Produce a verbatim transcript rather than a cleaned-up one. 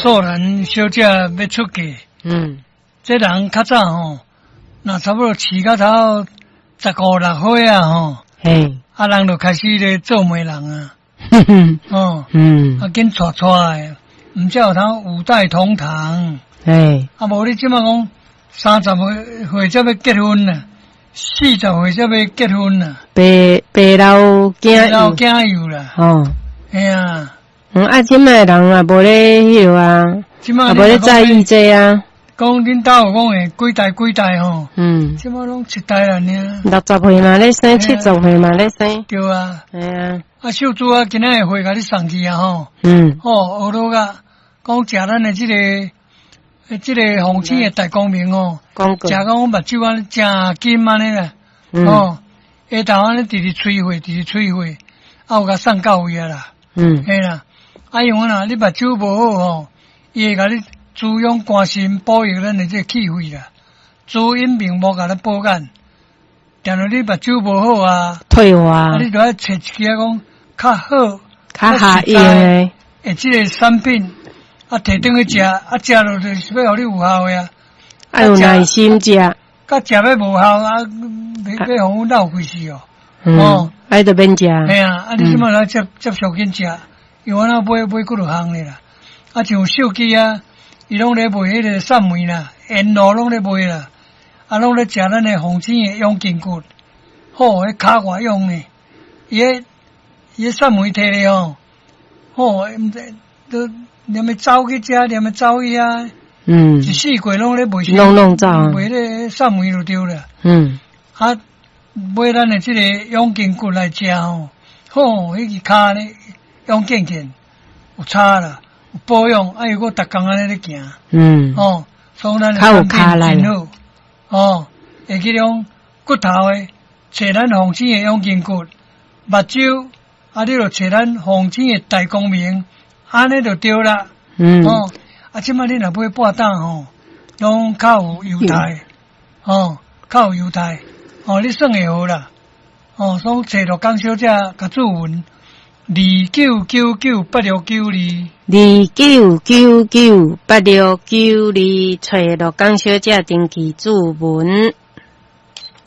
素蘭小姐欲出嫁，嗯，這人較早吼，若差不多飼到頭十五六歲啊吼，嘿，啊人就開始咧做媒人啊，哦，嗯，啊緊娶娶的，毋才有通五代同堂，嘿，啊無你這馬講三十歲歲才欲結婚啊，四十歲才欲結婚啊，白白老囝老囝幼啦，哦，嘿啊，嗯，啊，這擺人也無咧彼落啊，這馬也無咧在意這啊，講恁兜有講會幾代幾代吼，嗯，這馬攏一代啦爾，六十歲嘛咧生，七十歲嘛咧生，對啊，嘿啊，啊秀珠啊，今仔日貨共你送去啊吼，嗯，吼，學落啊，講食咱的這個，這個鳳青的大光明吼，廣告食到阮目睭按呢誠金按呢啦，嗯吼，下晝按呢直直吹火，直直吹火，啊有共送到位啊啦，嗯，嘿啦，啊因為啦，你目睭無好吼，伊會共你滋養肝心，保育咱的這個氣血啦，滋陰明目共咱保眼，定著你目睭無好啊，退化啊你著愛揣一支啊講較好、較合用的，的這個產品，啊提轉去食，啊食落就是欲予你有效的啊，愛有耐心食，佮食欲無效啊，欲欲予阮落氣死哦。嗯哦，愛就免食，嘿啊，啊你這馬來接接觸緊食，因為我那買買幾落項的啦，啊像手機啊，伊攏咧賣彼個散梅啦，煙露攏咧賣啦，啊攏咧食咱的鳳青的養筋骨，好，彼跤偌用呢，伊彼伊彼散梅提咧吼，好，毋知都連欲走去遮，連欲走去遐，嗯一，四季攏咧賣，攏攏走賣彼個散梅就對啦。嗯，啊，買咱的這個養筋骨來食吼，好，彼支跤咧養健健，有差啦，有保養，啊又閣逐工按呢咧行，嗯，吼，所以咱的較有產跤力品真好，哦，會去講骨頭的，揣咱鳳青的養筋骨，目睭，啊，你就揣咱鳳青的大光明，按呢就對啦，嗯，哦，啊，這擺你若買半膽吼，攏較有猶太，哦，較有猶太，哦，你算會好啦，哦，所以揣陸江小姐共注文，二九九九八六九二，二九九九八六九二，揣陸江小姐登記注文。